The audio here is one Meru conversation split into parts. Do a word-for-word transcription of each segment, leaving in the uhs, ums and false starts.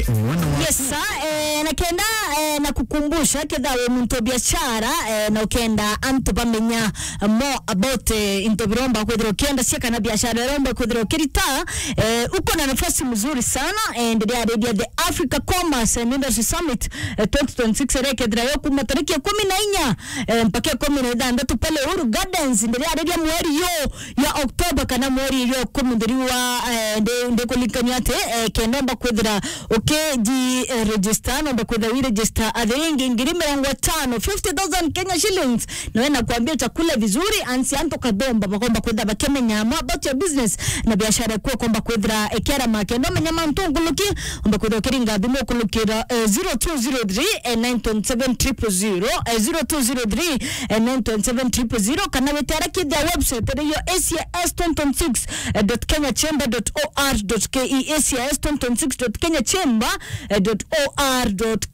Yes, sir. Eh, na kenda, eh, na kukumbusha, ketha wi muntu wa biashara, eh, na ukenda antu bamenya more about, eh, into biromba kwithira ukienda cia kana biashara iromba kwithira ukirita, eh, uko na nafasi mzuri sana, eh, ndiria aredia the Africa Commerce and Industry Summit, eh, twenty twenty-six, iria ikethira yo kuma tariki ikumi na inya, eh, mpaka ikumi na ithanthatu pale Uhuru Gardens, ndiria aredia mweri yo ya October kana mweri ya ikumi nthiri wa, eh, ndi, ndikulinkania ati, eh, kenda omba kwithira ukiji, eh, register, nomba kwithira wi register athiringi ngiri mirongo itano, fifty thousand Kenya shillings. Nawe nakwambia chakula vizuri, ansi antu kathomba bakomba kwithira bakimenya more about your business na biashara yaku ukomba kwithira ikiarama. Kenda umenya mantu nkuluki, omba kwithira ukiringa thimu ukulukira, eh, zero two zero three, eh, nine twenty seven triple zero, eh, zero two zero three, eh, nine twenty seven triple zero, kana witara kithia website iriyo A C S twenty twenty-six dot kenya chamber dot O R dot K E, A C S twenty twenty-six dot kenya chamber dot O R dot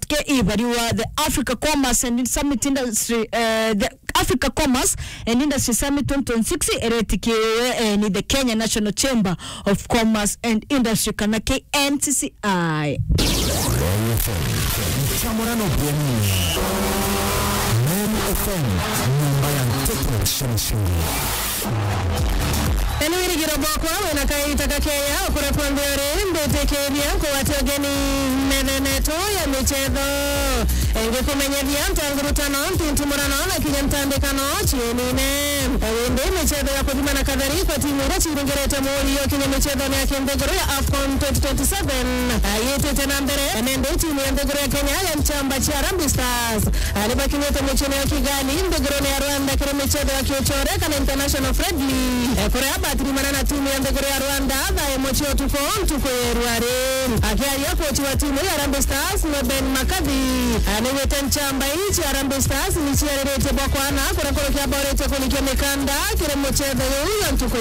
K E, bari wa the Africa Commerce and Summit Industry, eh, the Africa Commerce and Industry Summit twenty twenty-six, iretikiwe, eh, ni the Kenya National Chamber of Commerce and Industry, kana K N C C I. Chamorano bwenye. Meru F M, nyumba ya nteto cia mashini. Eni wirigiro bwakwa wina kaita gakeya ukuretwa nthi uri, mbitikiria nkugwate ugeni methene yetu ya michetho. Ngikumenyethia ntangurutano, ntintimurano na kinya ntandikano cienine. Indi michetho ya kuthima na kathari kwa timu iria ciringirite muri yo kinya michetho ya kinthiguru ya AFCON twenty twenty-seven, ayitite na mbere, nende timu ya nthiguru ya Kenya ya nchamba cia Harambee Stars, ah, ni bakinyite muciini ya Kigali, nthigurune ya Rwanda, kiri michetho ya kiuchore kana international friendly, eh, kuria batirimana na timu ya nthiguru ya Rwanda thaa imwe cia utuku, ntuku ya irua ri. Akiaria, kochi wa timu ya Harambee Stars, ni Ben McCarthy, ah, nigwite nchamba ii cia Harambee Stars ni ciariritie bwa kwana, kuria kurukia bauritie kulikia mikanda kiri muchetho juu ya ntuku